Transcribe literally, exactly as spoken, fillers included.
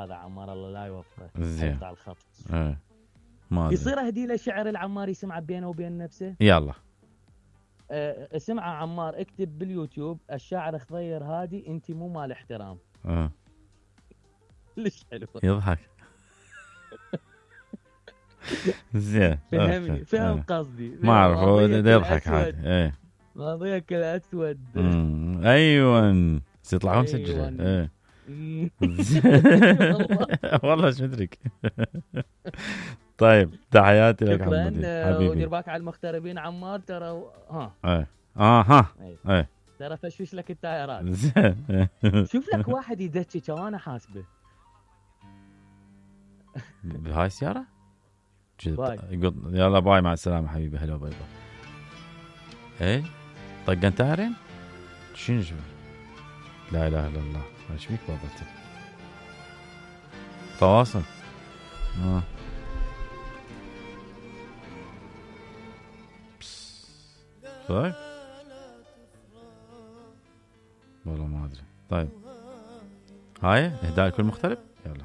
هذا عمار الله لا يوفقه. زين. يقطع الخط. ايه ما أدري. يصير اهدي له شعر العمار يسمعه بينه وبين نفسه. يلا. أه اسمعه عمار، اكتب باليوتيوب الشاعر خضير هادي انت مو مال احترام. اه ليش حلو. يضحك. زين. فهمني فهم قصدي. ما اعرف هو يضحك عادي. ايه ماضيك الاسود. ايوه يطلعون مسجله. ايه والله ايش مدرك. طيب تحياتي لك حبيبي. ودير بالك على المغتربين عمار ترى. ها ايه اه ها ايه ترى فشوش لك التايرات. زين. شوف لك واحد يدشك وانا حاسبه بهاي السياره. باي. يلا باي مع السلامه حبيبي. هلا باي باي. ايه طقن تايرين شنو شو. لا اله الا الله. ايش بيك بابا تواصل. اه طيب والله ما ادري. طيب هاي اهداء لكل مغترب. يلا